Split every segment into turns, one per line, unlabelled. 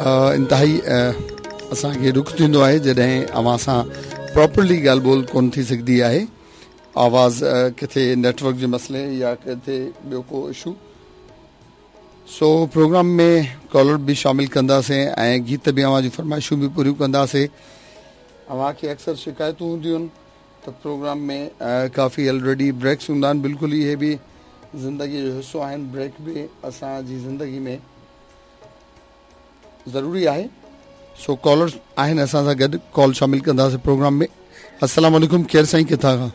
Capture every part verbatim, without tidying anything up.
इंतिहाई असांखे ॾुख थींदो आहे जॾहिं अव्हां सां प्रॉपरली ॻाल्हि ॿोल कोन थी सघंदी आहे। आवाज़ किथे नेटवर्क जे मसइले या किथे ॿियो को इशू। सो प्रोग्राम में कॉलर बि शामिल कंदासीं ऐं गीत बि अव्हां जूं फरमाइशूं बि पूरियूं कंदासीं। अव्हांखे अक्सर शिकायतूं हूंदियूं आहिनि त प्रोग्राम में काफ़ी ऑलरेडी ब्रेक्स हूंदा आहिनि। बिल्कुलु इहे बि ज़िंदगीअ जो हिसो आहिनि, ब्रेक बि असांजी ज़िंदगी में ज़रूरी आहे। सो कॉलर आहिनि असां सां गॾु, कॉल शामिल कंदासीं प्रोग्राम में। अस्सलाम वालेकुम, केरु साईं किथां खां?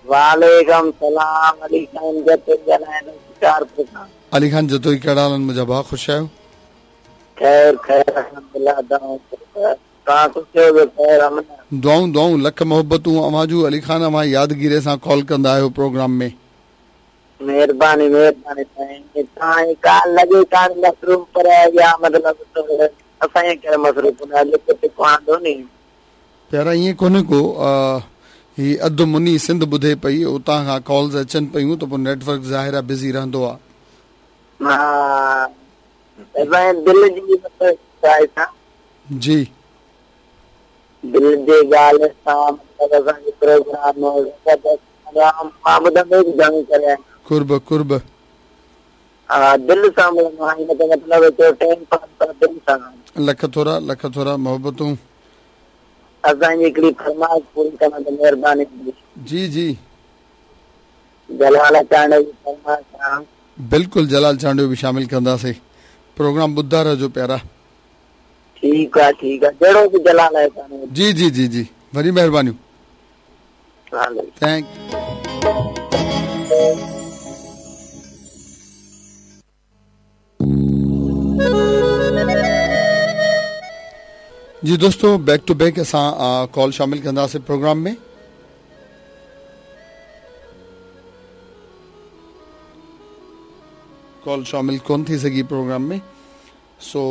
वालेकुम सलाम, अली खान जतोई ॻाल्हायां शिकारपुर खां।
अली खान जतोई, कहिड़ा हाल आहिनि मुंहिंजा भाउ, ख़ुशि आहियो?
ख़ैर ख़ैर अल्हम्दुलिल्लाह, तव्हां ख़ुशि आहियो? ख़ैर
दुआऊं दुआऊं, लख मोहबतूं अव्हां जूं। अली खान, अव्हां यादगिरी सां कॉल कंदा आहियो प्रोग्राम में।
मेहरबानी मेहरबानी साईं। तव्हां काल लॻे कान मसरूफ़, पर या मतिलबु असांजे करे मसरूफ़ न आंदो नी।
प्यारा ईअं कोन्हे को, ही अधु मुनी सिंध ॿुधे पई, उतां खां कॉल्स अचनि पयूं त पोइ नेटवर्क ज़ाहिर आहे बिज़ी रहंदो आहे।
हा दिलि जी मतिलबु
जी
दिलि जी ॻाल्हि सां मतिलबु असांजो प्रोग्राम मां ॿुधंदो घणो करे
कुर्ब कुर्ब।
हा दिलि सां मतिलबु टाइम पास पर दिलि सां।
लख थोरा लख थोरा मोहबतूं।
असांजी हिकिड़ी फरमाइश पूरी करण ते महिरबानी।
जी जी,
जलाल चांडियो जी फरमाइश आहे।
बिल्कुलु जलाल चांडियो बि शामिल कंदासीं। प्रोग्राम ॿुधा रहिजो प्यारा।
ठीकु आहे ठीकु आहे, जहिड़ो बि जलाल आहे।
जी जी जी जी, वॾी महिरबानियूं, thank. जी दोस्तों, बैक टू बैक असां कॉल शामिल कंदासीं प्रोग्राम में। कॉल शामिल कोन थी सघी प्रोग्राम में। सो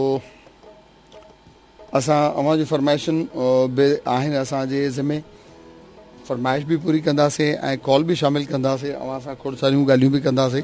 असां अव्हां जी फरमाइशुनि बि आहिनि असांजे ज़िमे, फरमाइश बि पूरी कंदासीं ऐं कॉल बि शामिल कंदासीं, अव्हां सां खोड़ सारियूं ॻाल्हियूं बि कंदासीं।